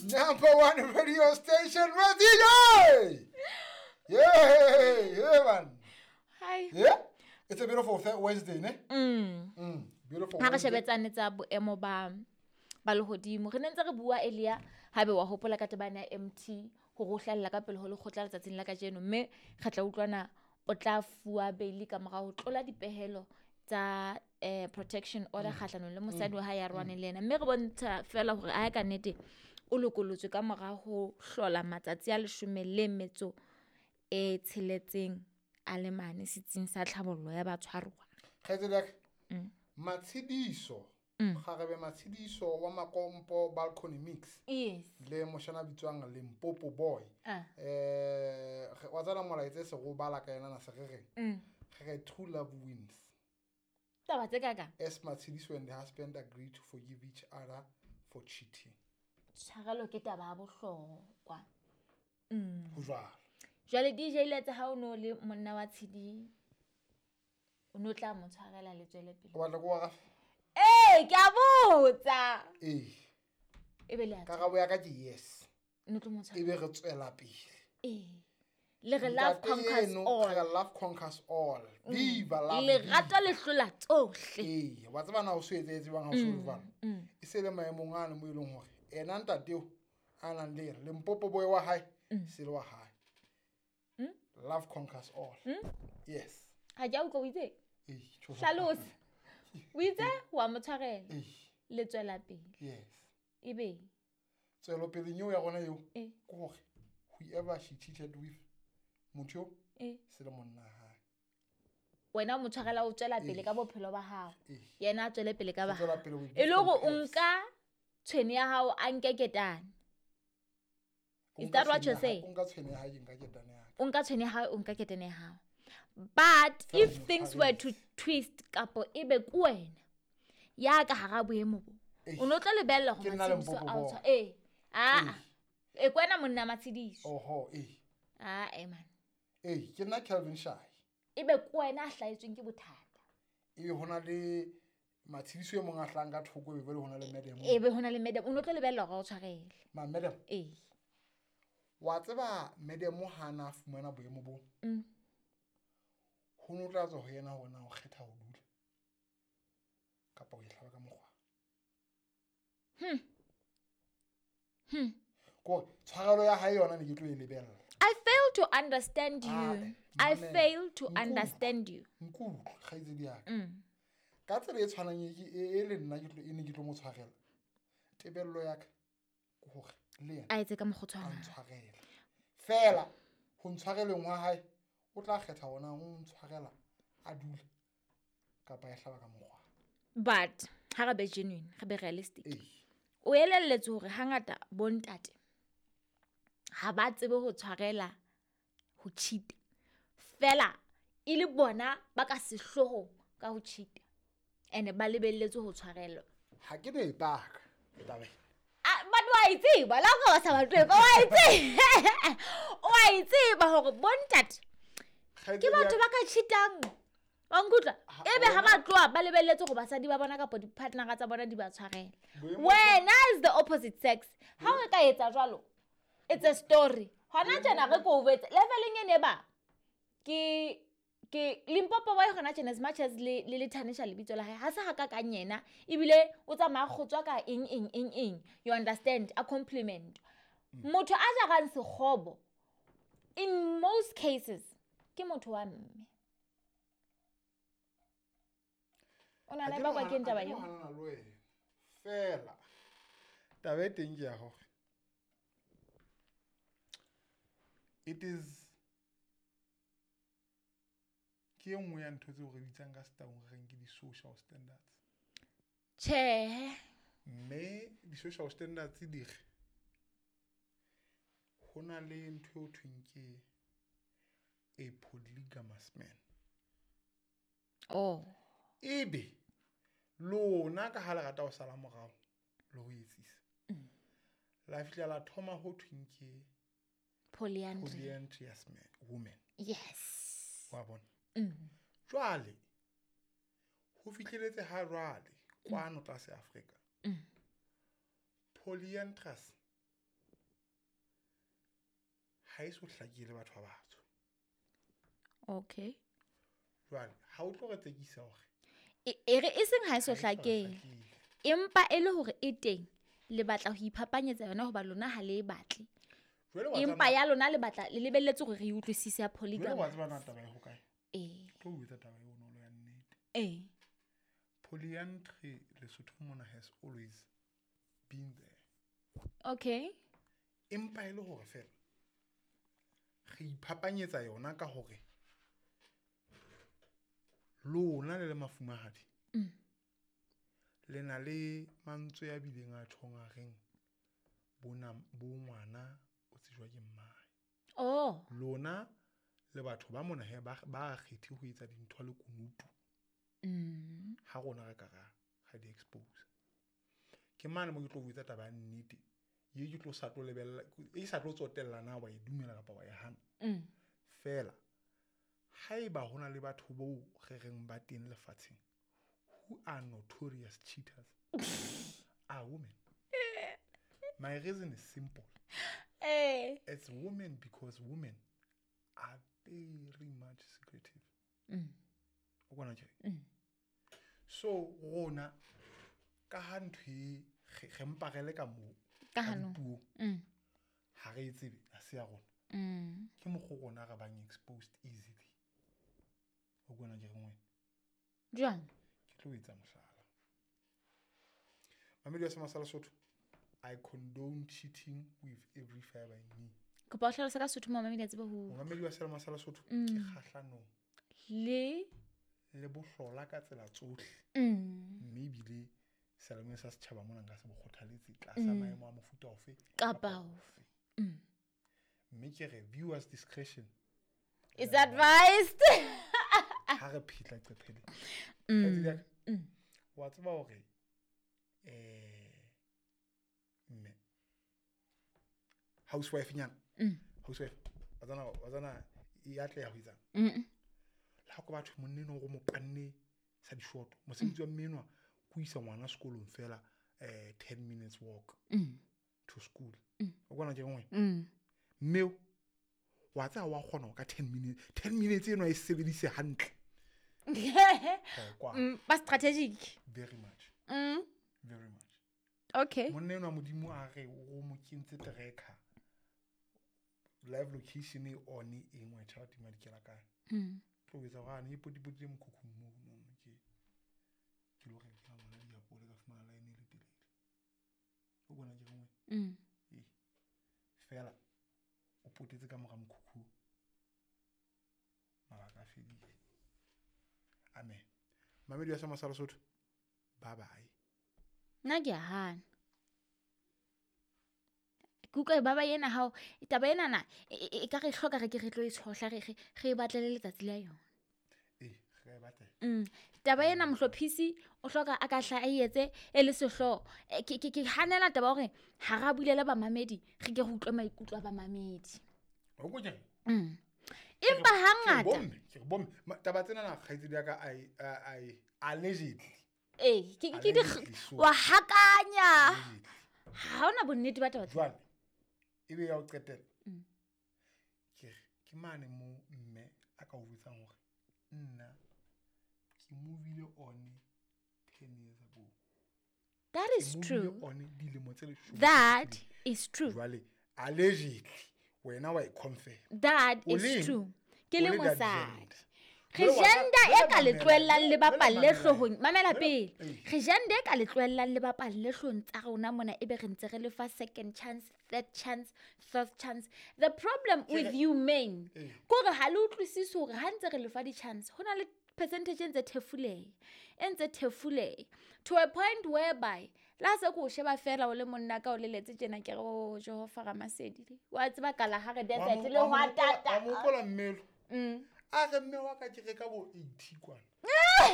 Number one radio station with DJ. Yeah, yeah, man. Hi. Yeah. It's a beautiful Wednesday, ne? Beautiful Ha re Wednesday. shebetsane tsa boemo ba lehodimo. Re ne ntse re bua earlier, haebe wa hopola ka tebana ya MT hore o hlahella ka pele ho lekgotla letsatsing la kajeno, mme re tla utlwana o tla fuwa bail ka mora ho tlola dipehelo tsa protection order kgahlanong le mosadi wa hae ya rwaneng le yena. Mme re bontsha feela hore a ka nnete o lokolotswe ka mora ho hlola matsatsi a 16 a le mane setsing sa tlhabollo ya batshwaruwa. Kgaitsedi ya ka, Matshidiso, kgarebe Matshidiso wa Makompo Balcony Mix. Yes. Le moshana bitswang Limpopo Boy. Ah. Wa tsena molaetsa e se go bala ka yena na se re reng? Re re true love wins. Taba tse ka? As Matshidiso and the husband agree to forgive each other for cheating. Tshwarelo ke taba ya bohlokwa. Ho jwalo. Jwale DJ Letse ha o no le monna wa Tshidi, o no tla mo tshwarela le tswele pele. O batla ko wa rafa? Ee, ke a botsa. Ee. E be le a Karabo ya ka ke yes. No tlo mo tshwarela. E be re tswela pele. Ee. Le re love Ntate conquers eno, all. re love conquers all. Viva love. Lerato le hlola tsohle. Ee, wa tseba na o so etsetse bang ha o so jwalo. E se le maemong a mo e leng hore ena ntate eo a nang le yena, Limpopo Boy wa hae, se le wa hae. Love conquers all. Yes. Ha ke a utlwa o itse? Ee, tjho. Hlalosa. O itse wa mo tshwarela. Ee. Le tswela pele. Yes. Ebe. Tswelopeleng eo ya rona eo, Ee. ke hore whoever she cheated with, motho eo, Ee. se le monna hae. Wena o mo tshwarela o tswela pele Ee. ka bophelo ba hao. Ee. Yena a tswele pele ka ba O tswela hao. pele with E le hore o different nka tshwene ya hao a nke ketane. O Is nka that what tshwene you're ya hae, saying? o nka tshwene ya hae, ke nka ketane ya ka. O nka tshwene ya hao, o nka ketane ya hao. But Fela if mo things were to tshwaretse. twist kapo ebe ke wena ya ka hara boemo bo, Eish. o no tlo lebella hore Ke nna Matshidiso Limpopo a o boy. tshwa-, ee. Ah, e ke wena monna Matshidiso. Oho, ee. Ah, eh, man. Ee, ke nna Calvin Shai. Ebe ke wena a hlahetsweng ke bothata. Ebe hona le Matshidiso e mong a hlahang ka thoko, ebe jwale hona le madam. Ebe hona le madam, o no tlo lebella hore a o tshwarele. Ma, madam. Ee. Wa tseba madam ha na fumana boemo bo. Ho no tla tswa ho yena hore na o kgetha ho dula kapa ho e hlaba ka mokgwa. Kore tshwarelo ya hae yona ne ke tlo e lebella. I fail to understand you. Ah, I mamela. fail to Nkutlwe. understand you. Nkutlwe, kgaitsedi ya ka. Ka tsela e tshwanang e ke, e le nna ke tlo, e ne ke tlo mo tshwarela. Tebello ya ka ke hore le yena A etse ka mokgwa o a tshwanang. ntshwarele. Feela ho ntshwareleng wa hae, o tla kgetha hona ho ntshwarela a dule kapa a e hlaba ka mokgwa. But ha re be genuine, re be realistic. Ee. O elelletse hore hangata bontate ha ba tsebe ho tshwarela ho cheat. Feela e le bona ba ka sehloohong ka ho cheat. And ba lebelletse ho tshwarelwa. Ha ke no e paka taba ena. Ah, but wa e tseba, la o ka ba sa batle, wa e tseba. Wa e tseba hore bontate ke batho ba ka cheatang. Wa nkutlwa? Ha, Ebe ha wena- ba tloha ba lebelletse hore basadi ba bona kapa di-partner-a tsa bona di ba tshwarele. Boemo- Wena is the opposite sex. Ha o ka etsa jwalo, it's a story. Hona tjena re ko botse, leveleng ene ba ke Limpopo Boy hona tjena, as much as le thanisha lebitso la hae, ha se ha ka kang yena, ebile o tsamaya kgotswa ka eng, eng, eng, eng. You understand? A compliment. Motho a jarang sekgobo, in most cases, ke motho wa mme. O na Ha le ke bakwa no ke eng hana- taba ha ke no eo? hanana le wena. Feela taba e teng ke ya hore it is ke e nngwe ya ntho tseo re bitsang ka setaung re reng ke di-social standards. Tjhehe. Mme di-social standards di re ho na le ntho eo thweng ke a polygamous man. Oh. Ebe lona ka ha le rata ho sala morao le ho etsisa, la fihla la thoma ho thweng ke Polyandry. polyandrous man, woman. Yes. Wa bona? Jwale ho fihleletse ha jwale kwano tlase Afrika. Polyandrous Ha e so hlakile batho ba batsho. Okay. Jwale ha o tlo re tsekisa hore E re e seng ha e so ha e so hlakele, hlakile. empa e le hore e teng, le batla ho iphapanyetsa yona hoba lona ha le e batle. Jwale wa Empa tseba- ya lona le batla le lebelletse hore re e utlwisise ya jwale wa polygamy. tseba na taba e hokae? Ee. Ke tlo o etsa taba e bonolo ya nnete. Ee. Polyandry Lesotho mona has always been there. Okay. Empa e le hore fela re iphapanyetsa yona ka hore lona le le mafumahadi le na le mantswe a bileng a tjhong a reng bo ngwana o tsejwa ke mmae. Oh. Lona le batho ba mona he ba kgethe ho etsa dintho le kunutu. Ha rona re ka ra di expose. Ke mane mo ke tlo botsa taba ya nnete ye ke tlo sa tlo lebella, e sa tlo tsotella na wa e dumela kapa wa e hana. Fela haeba hona le batho boo re reng ba teng lefatsheng who are notorious cheaters are women. My reason is simple. It's women because women are very much secretive. O bona tje? So rona ka ha ntho e re mpa re le ka moo Ka ka hanong. dipuo, ha re e tsebe, ha se ya rona. Ke mokgwa o rona re bang exposed easily. O bona ke reng wena? Jwang? Ke tlo etsa mohlala. Mamedi wa Sema sa Lesotho, I condone cheating with every fiber in me. Kopa o hlalose ka Sesotho mamedi a tsebe ho Momamedi wa Selema sa Lesotho, ke kgahlanong le le bohlola ka tsela tsohle. Mme ebile selemeng sa setjhaba mona nka se bo kgothaletse tlasa maemo a mofuta ofe Kapa ofe. Mme ke re viewers discretion is advised. Ha re phetla qephele. Kgaitsedi ya ka, wa tseba hore mme housewife nyana. Housewife wa tsana e atleha ho etsang. Le ha ko batho monna enwa o mo panne sa dishoto. Mosebetsi wa mme enwa ke ho isa ngwana sekolong fela 10 minutes walk to school. O bona ke nngwe. Mme wa tseba wa kgona ho ka 10 minutes. 10 minutes eno e sebedise hantle. Kwa. Ba strategic. Very much. Very much. Okay. Monna enwa Modimo a re o mo kentse tracker. Live location e on e nngwe tjha tima dikela kae. Tlo etsa hore ane e potipotile mokhukhung moo mono ke lo rekela ngwana diapole ka fumana line e le telele. O bona ke reng wena? Ee. Fela o potetse ka mora mokhukhu. Mabaka a fedile. Amen. Mamedi wa Sema sa Lesotho. Bye bye. Nna ke a hana. Ke utlwa ba ba ena hao taba ena na e ka re hloka re ke re tlo e tshohla re e batlele letsatsi la yona. Ee, re e batle. Taba ena mohlophisi o hloka a ka hla a etse e le sehlooho. Ke hanela taba hore ha ra bulela bamamedi re ke re utlwe maikutlo a bamamedi. O ko kere? Empa hangata Ke re bomme. Taba tsena na kgaitsedi ya ka ai allegedly. Ee, ke di Allegedly so. wa hakanya. Allegedly. Ha hona bonnete ba taba tsena. Jwale ebe ya ho qetela. Ke re ke mane mo mme a ka o jwetsang hore nna ke movile on 10 years ago. That is Ke movile true. on dilemo tse leshome. That is true. Jwale allegedly wena wa e confirm. That O is leng? true. Ke O le le that mosadi. gender. Re Jwale wa gender jwale e ka le mamela, tlohellang le jwale bapalle mamela. hloohong. Mamela Jwale- pele. Ee. Re gender e ka le tlohellang le bapalle hloohong tsa rona mona ebe re ntse re le fa second chance, third chance, fourth chance. The problem with you men Ee. ke hore ha le utlwisise hore ha ntse re le fa di-chance, ho na le percentage e ntse thefuleha, e ntse thefuleha. To a point whereby le ha se ke o sheba feela o le monna ka o leletse tjena ke re, oh, Jehova Ramasedi. Wa tseba Kalahari Desert le Wa mo hwatata. hopola mmelo. A re mme wa ka ke re ka bo 80 kwana.